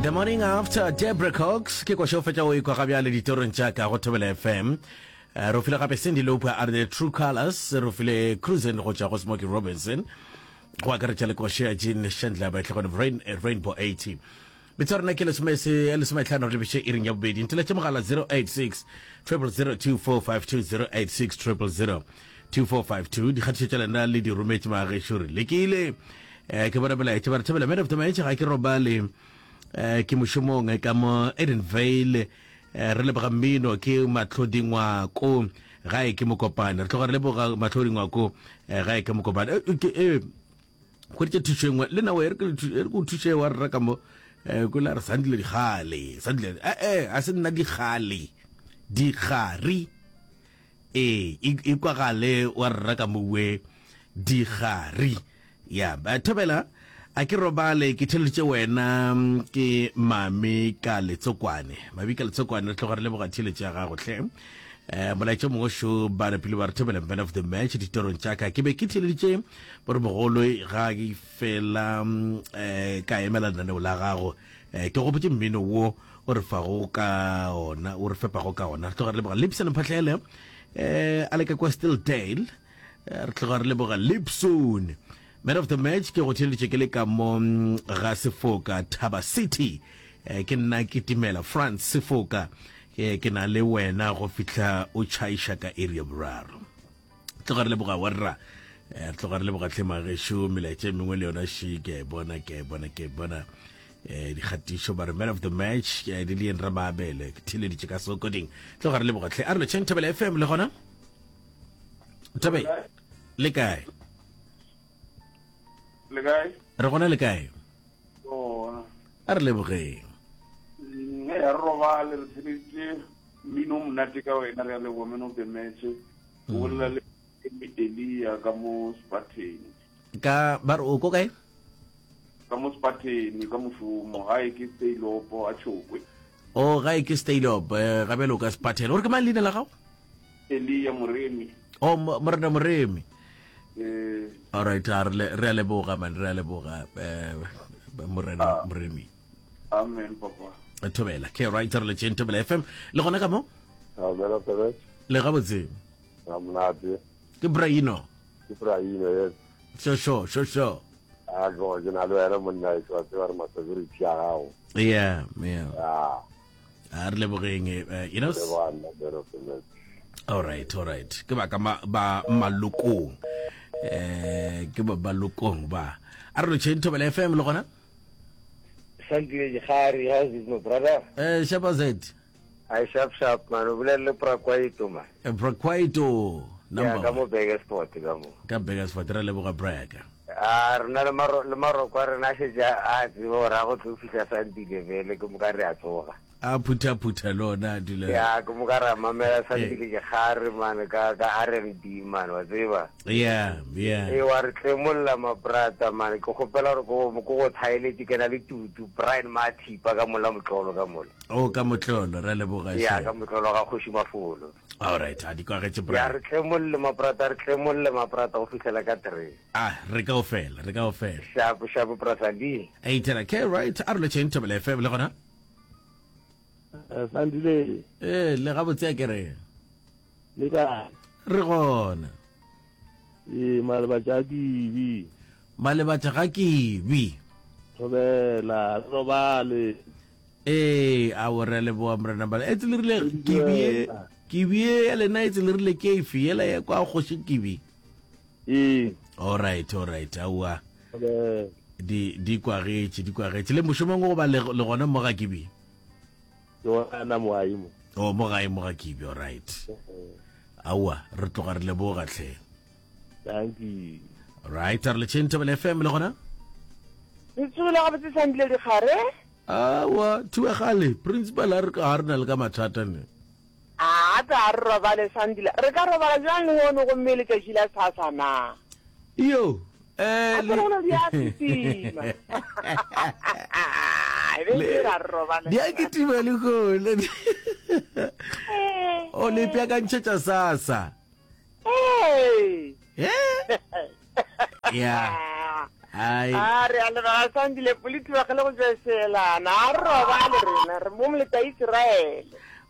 The morning after Debra Cox ke košo fetša o ikwa ga bjale ditorong tša ka go Thobela FM. Eh, re file gape Cindy Lauper a re The True Colors, re file Cruising go tšwa go Smokey Robinson. Go akaretša le košo ya Gene Chandler ba tlogone Rain, eh, Rainbow 80. Metso ya rena ke lesome se lesometlhano re lebiše iring ya bobedi. Nteletše mogala 086 000 2452 086 000 2452. Dikgatišo tša lena le di rometše magešo re lekile. Eh, ke bona melaetša ba re thabela man of the match ga ke robale eh, ke mošomong eh, ka mo Edenvale eh, re leboga mmino ke Matlhodi Ngwako gae ke Mokopane re tloga re leboga Matlhodi Ngwako eh, gae ke Mokopane eh, ke, eh, hweditše thušo e nngwe le nawe e re ke o thuše wa rra ka mo um kula re sandile digale sandile ee eh, eh, a se nna digale digari ee e kwagale wa rra ka mowe digari ya thobela a ke robale ke theleditše wena ke mame ka letsokwane mame ka letsokwane re tloga re leboga theletše ya gago hle um molaetša mongwe šo ba napile ba re thobela man of the match ditorong tša ka ke be ke theleditše boremogolo ga ke fela um ka emela lenaneo la gago um ke gopotše mmino wo o re fago ka ona o re fepago ka ona re tloga re leboga lipson mphatlele um a le ka kwa stildale re tloga re leboga lipson Man of the match ke go theeleditše ke le ka mo mm, ga Sefoka Thaba City. Eh, ke nna ke timela France Sefoka. Ke ke na le wena go fihla o tšhaiša ka area boraro. Tloga re leboga warra. Eh, re tloga re leboga tlhe magešo melaetša e mengwe le yona še ke a e bona ke a e bona ke a e bona eh dikgatišo ba re man of the match eh, di lien ramabele ke theeleditše ka sokoding tloga re leboga tlhe a re lotšheng thobela fm le gona thabe le kae Le kae? Re gona le kae? Gona. A re lebogeng. Mm, e re robale re theleditše mmino o monate ka wena re a leboga man of the match. O mm. bolela le Elia ka mo Spartan. Ka ba re o ko kae? Ka mo Spartan ka mošomo gae ke Staylopo a Tšhokwe. O gae ke Staylopo eh, ga bjale o ka Spartan. O re ke mang leina la gago? Elia Moremi. Oh, Morena Moremi. Eh. All right, a re re a leboga man, re a leboga eh Morena ah. Moremi. Amen papa. Thobela. Ke right re le tšeng Thobela FM. Le gona ka mo? Thobela Thobela. Le ga botse. Ga monate. Ke Braino. Ke Braino yes. Sho sho sho sho. A go ke na le wena monna e tswa tseba re masecurity ya gago. Yeah, yeah. Yeah. A re lebogeng eh, you know. All right, all right. Ke ba ka ba malokong. Eh ke ba balokong ba. A re lotšheng Thobela FM le gona? Santile Dikgari, how's it my brother? Eh Shapa Z. I sharp sharp man, o bolela le Brakwaito man. Eh, Brakwaito. Number. Yeah, ka mo Burgersport ka mo. Ka Burgersport re leboga Braka. A rena le maro le maroko a rena a šetše a tseba gore a go tlo fihla Sandile bele ke moka re a tsoga. A phutha phutha le ona a dula. Ya ke moka ra mamela Sandile ke gare man ka ka R&B man wa tseba. Yeah, yeah. E wa re tlemolla ma brata man ke kgopela gore ko ko go thaeletše ke na le tutu Brian Mathipa ka mola motlolo ka mola. Oh ka motlolo re leboga. Ya ka motlolo ga kgoši Mafolo. All right, a di kwagetše Brian. Ya re tlemolle maprata, re tlemolle maprata go fihlela ka three. Ah, re kaofela, re kaofela. Shapo, shapo Brasandi. Hey, tela ke right, a re lotšheng Thobela FM le gona. Eh, Sandile. Eh, le gabotse a ke re. Le kae? Re gona. Ee, malebatša a kibi. Malebatša ga kibi. Thobela, re robale. Ee, ao re a leboga Morena Bala. Etse le rile kibi ye, kibi ye ya lena etse le rile ke efe yela ya kwa kgoši kibi. Ee. All right, all right, aowa. Di di kwagetše, di kwagetše. Le mošomong go ba le le gona mo ga kibi. Ke gona mo gae mo. Oh, mo gae mo ga kibi, all right. Aowa, re tloga re leboga hle. Thank you. Right, re le tšheng Thobela FM le gona? Le tsogile gabotse Sandile Dikgare? Awa, thuegale, principal a re ga re na le ka mathata ne. A tla re robale Sandile. Re ka robala bjang lehono gomme letšatši la sasa na? Iyo, eh A tsere gore di a kitima. E be ke ra re robale. Di a kitima lehono. O le ipeakantšhetša sasa. Ee. Eh? Ya. Ai. A re a leboga Sandile Politi ba gele go tšwa Seelana. A re robale rena re mo moleta Israele.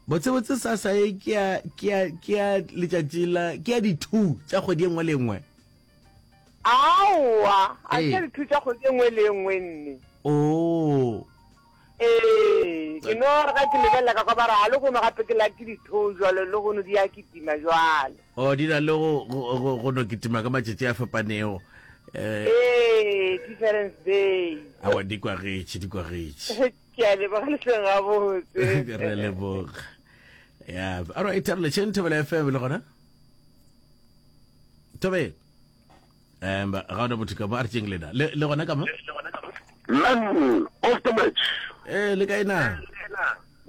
Botsebotse sasa e ke ya ke ya ke ya letšatši la ke ya di-two tša kgwedi e nngwe le e nngwe. Aowa, a Ee. se di-two tša kgwedi e nngwe le e nngwe nne. Oh. Ee, ke no re ga ke lebelela ka kwa ba re a lehono gape ke la ke di-two jwalo lehono di ya kitima jwalo. Oh, di na le go go go go no kitima ka matšatši a fapanego. Eh, Ee, difference day. awa di kwagetše, di kwagetše. Ke a leboga le hleng gabotse. Re leboga. Ya, all right, re letšeng Thobela FM le gona. Thobela. Um, ga ona motho ka mo a re tšeng lena. Le le gona ka mo? Man of the match. Eh, le kae na?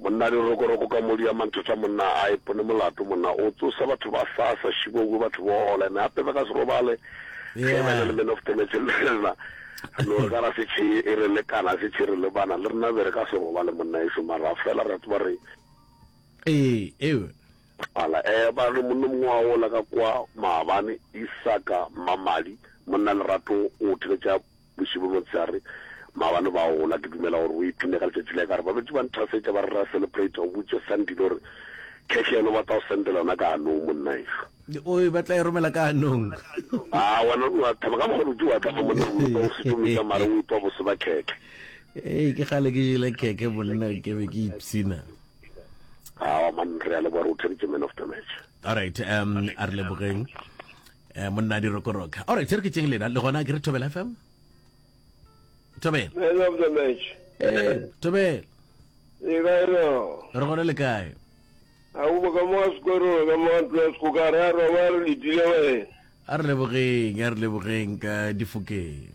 Monna dirokoroko ka modi ya manthotha monna a ipone molato monna o tsosa batho ba sasa šibokwe batho bola ene gape ba ka se robale ge ba le man of the match le rena no re ka ra se tšhe e re lekana se tšhe re le bana le rena be re ka se robale monna eso mara fela re tseba re ee ewe ala eh ba re monna mongwe wa ola ka kwa maabane Isaka Mamadi monna Lerato o theletša Bošego motshehare, maabane ba gola, ke dumela gore o ipshine ka letšatši la ka. Re ba betše ba nthasetša ba re ra celebrate, o botše Sandile gore cash yena o batla go sendela yona ka hanong monna ešo. O e batla e romela ka hanong. A wena o a thaba ka mokgwa o wa thaba monna o o setumetša mare o itwa bose ba khekhe. Ee, ke kgale ke jele khekhe monna ke be ke ipshina. Awa man re a leboga re o thabitše man of the match. All right, um a re lebogeng. Eh, monna di rokoroka. All right, re ke tšeng lena le gona ke re Thobela FM. Thobela. Man of the match. Eh, Thobela. Le kae no? Re gona le kae? A o ka mo sekoro ka mo ntlo ya sekgoka re a roba re letile wena. A re lebogeng, a re lebogeng ka difokeng.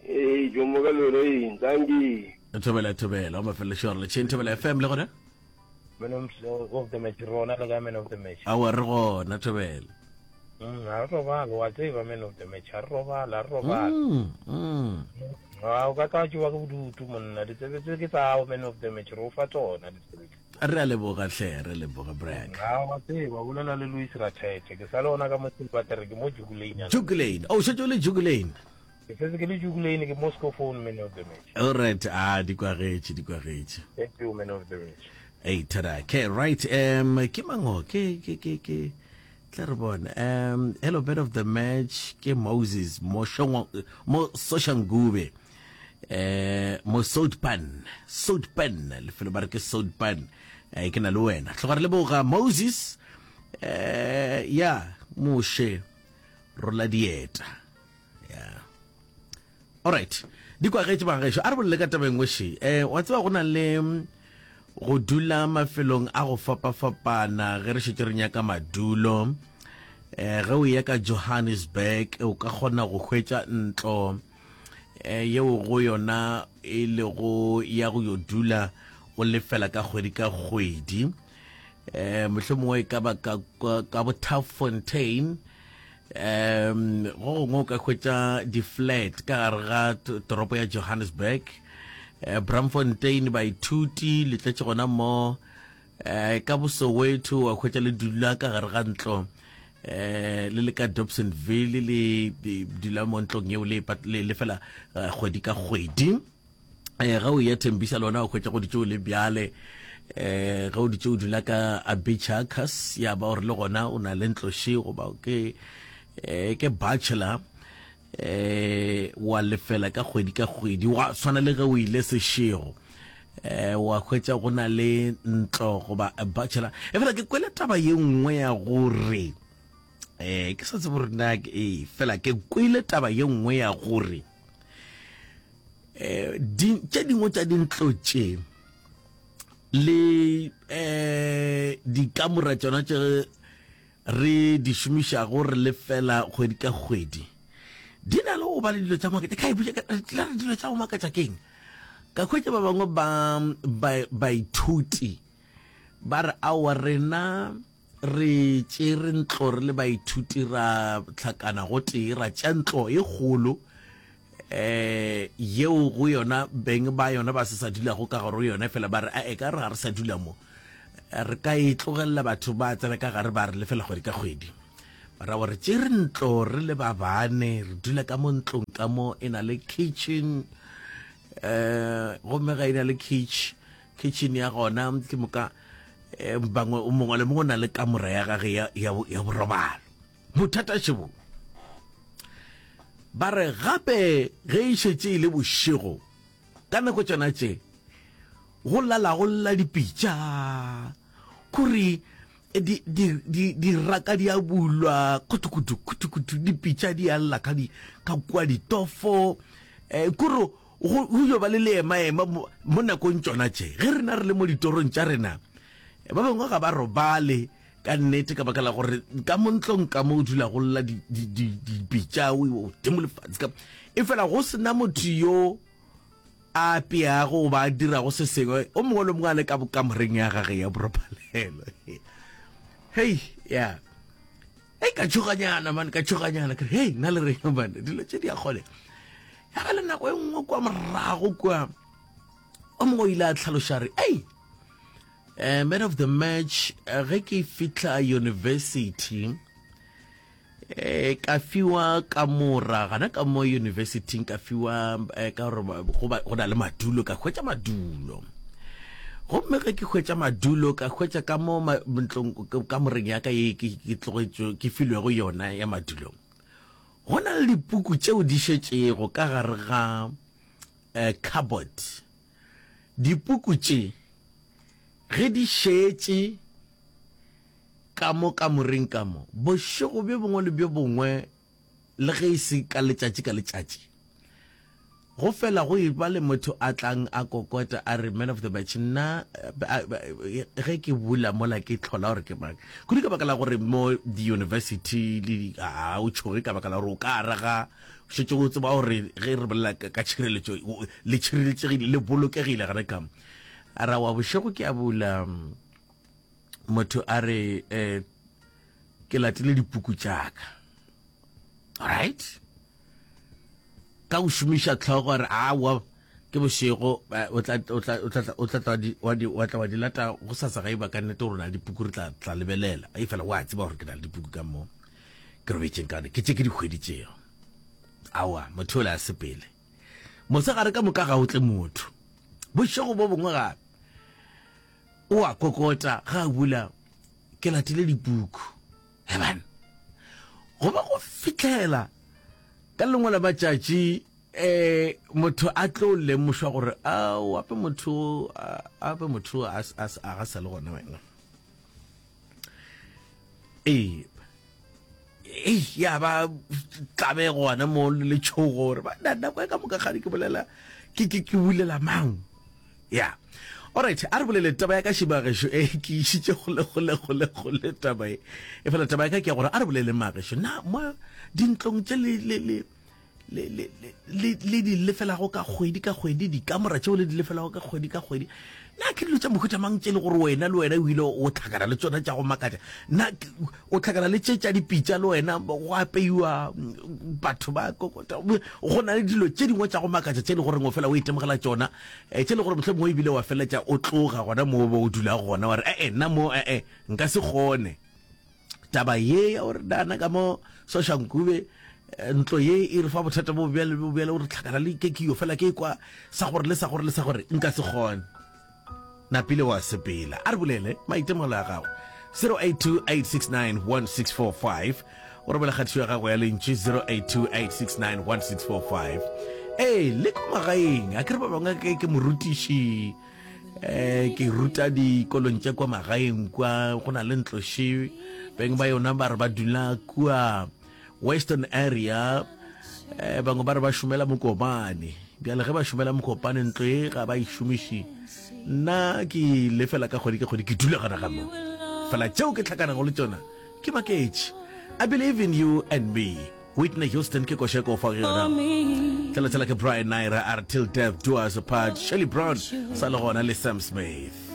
Ee, jo mo ka loreng, thank you. Thobela Thobela, o mafelelo re letšeng Thobela FM le gona? Man of the match, rona le ka man of the match. Aowa re gona Thobela. Mm, a re robale, wa tseba man of the match, a re robale, a re robale. Mm, mm. A o ka tla tšewa ke bodutu monna, ditsebe tse ke tsa man of the match, re o fa tsona ditsebe tse. Re a leboga hle, re leboga Brag. A wa tseba, bolela le Louis Rathethe, ke sa le ona ka mo Silverter, ke mo Jukulane. Jukulane, oh šetše o le Jukulane. Ke setse ke le Jukulane, ke Moscow phone man of the match. All right, ah di kwagetše, di kwagetše. Thank you man of the match. Hey, tada. Okay, right. Um, ke mango, ke ke ke ke tla re bone. Um, hello man of the match ke Moses mo shongwa mo Soshanguve. Eh, mo Soutpan, Soutpan, lefelo ba re ke Soutpan. Eh, ke na le wena. Tloga re leboga Moses. Eh, ya, Moshe rola dieta. Yeah. Alright. Di kwagetše bagaešo. A re bolele ka taba e nngwe še. Eh, wa tseba go na le mm, go dula mafelong a go fapafapana ge re šetše re nyaka madulo. Eh, ge o ya ka Johannesburg o ka kgona go hwetša ntlo eh, yeo go yona e lego ya go yo dula o lefela ka kgwedi ka kgwedi. Eh, mohlomongwe e ka ba ka, ka, ka bo Turffontein um go gongwe o ka hwetša di-flat ka gare ga toropo ya Johannesburg eh, Braamfontein baithuti le tletše gona mo eh, ka boSoweto wa hwetša le dula ka gare ga ntlo eh le le ka Dobsonville le dula mo ntlong yeo le lefela eh, kgwedi ka kgwedi eh ga o ya Thembisa lona o hwetša go ditšeo le bjale eh ga o ditše o dula ka Abichacus ya ba gore le gona o na le ntlo še goba ke eh ke bachelor eh wa lefela ka kgwedi ka kgwedi wa tshwana le ge o ile sešego eh wa hwetša go na le ntlo goba a bachelor e fela ke kwele taba ye nngwe ya gore eh ke sa tsebe gore na e fela ke kwele taba ye nngwe ya gore eh di tše dingwe tša dintlo tše le eh dikamora tšona tše re di šomišago re lefela kgwedi ka kgwedi di na le go ba le dilo tša makatša ka ipotša ka re dilo tša go makatša keng ka hwetša ba bangwe ba baithuti ba re aowa rena re tšere ntlo re le baithuti ra hlakana gotee ra tšea ntlo e kgolo eh yeo go yona beng ba yona ba se sa dulago ka gare go yona fela ba re a e ka re ga re sa dula mo re ka e tlogelela batho ba tsena ka gare ba re lefela kgwedi ka kgwedi. Ra gore tšere ntlo re le ba bane, re dula ka mo ntlong ka mo e na le kitchen eh gomme ga e na le kitchen kitchen ya gona ke moka eh, bangwe o mongwe le mongwe o na le kamora ya gage ya, ya, ya borobalo. Bothata šebo ba re gape ge e šetše e le bošego ka nako tšona tše go lala go lla dipitša kore di, di, di, diraka di a bulwa kutukutu kutukutu dipitša di a lla ka, di, ka kua ditofo eh, kore go go yo ba le leemaema mo, mo nakong tšona tše ge rena re le mo ditorong tša rena eh, ba bangwe ga ba robale ka nnete ka baka la gore ka mo ntlong ka mo o dula go lla dipitša o dimo lefatshe ka e fela go sena motho yo a apeago goba a dirago se sengwe o mongwe le mongwe a le ka bokamoreng ya gage ya boropalelo. Hei, ya. Hei, ka tšhoganyana man, ka tšhoganyana. Ke re, hei, nna le reng man, dilo tše di a kgone. Ya ba le nako e nngwe kwa morago kwa, o mongwe o ile a tlhaloša re, ei, uh, man of the match, eh, ge ke fihla university, Eh, ka fiwa kamora gana ka mo universityng ka fiwa eh, ka gore go ba- go na le madulo ka hwetša madulo gomme ge ke hwetša madulo ka hwetša ka mo ma- ntlong kamoreng ya ka ye ke ke tlogetšwe ke filwego yona ya madulo go na le dipuku tšeo di šetšego ka gare ga eh, cupboard dipuku tše ge di šetše Ka mo kamoreng ka mo, bošego bjo bongwe le bjo bongwe, le ge e se ka letšatši ka letšatši, go fela go eba le motho a tlang a kokota a re, Man of the match, nna ge ke bula mola ke hlola gore ke mang. Kudu ka baka la gore mo di-university le di, a o tšhoge ka baka la gore o ka araga, šetše o tseba gore ge re bolela ka tšhireletšo, le tšhireletšegile, le bolokegile gare ka mo. A ra wa bošego ke a bula. Motho a re eh, ke latile dipuku tša ka. Alright? Ka go šomiša tlhogo re awa ke bošego eh, o tla o tla o tla o tla tla di wa di wa tla wa di lata go sasa ga eba ka nnete gore na dipuku re tla tla lebelela. E fela wa tseba gore ke na le dipuku ka mo ke robetšeng ka ke tše ke di hweditšego. Awa motho o le a sepele. Mosegare ka moka ga o tle motho. Bošego bo bongwe gape O a kokota ge a bula, Ke latile dipuku. Heban! Go ba go fihlela ka lengwe la matšatši um motho a tlo lemošwa gore ao ape motho ape motho a ga sa le gona wena. Ee, ei ya ba tlabe gona mo le letšhogo gore ba nako e ka moka gane ke bolela ke ke ke bulela mang ya alright a re bolele taba ya ka šibagešo e ke išitše gole gole gole gole taba e e fela taba ya ka ke ya gore a re bolele magešo na mo dintlong tše le le le le, le, le, le di lefelago ka kgwedi ka kgwedi, dikamora tšeo le di lefelago ka kgwedi ka kgwedi, na ke dilo tša mohuta mang tše le gore wena le wena o ile o tlhakana le tšona tša go makatša? Na o tlhakana le tše tša dipitša le wena go apeiwa batho ba kokota? Go na le dilo tše dingwe tša go makatša tše le goreng o fela o itemogela tšona, eh, tše le gore mohlomongwe ebile wa feleletša o tloga gona mo o dulago gona wa re, ee, nna mo ee nka se kgone. Taba ye ya gore nana ka mo Soshanguve eh, ntlo ye e re fa bothata bo bjale bo bjale gore tlhakana le ke ke yo fela ke kwa sa gore le sa gore le sa gore nka se kgone. Napile wa sepela. A re bolele maitemogelo a gago. 0828691645 o romela kgatišo ya gago ya lentšu 0828691645 ee le ko magaeng a ke re ba bangwe ke ke morutiši eh ke ruta dikolong tša kwa magaeng kwa go na le ntlo še beng ba yona ba re ba dula kua western area eh bangwe ba re ba šomela mokopane bjale ge ba šomela mokopane ntlo e ga ba e šomiše nna ke lefela ka kgwedi ka kgwedi ke dula gona ga mo fela tšeo ke tlhakanago le tšona ke maketše i believe in you and me Whitney Houston ke koša e ko fa yona. Tlhela tshela ke Brian Naira a re till death do us apart. Shirley Brown sa le gona le Sam Smith.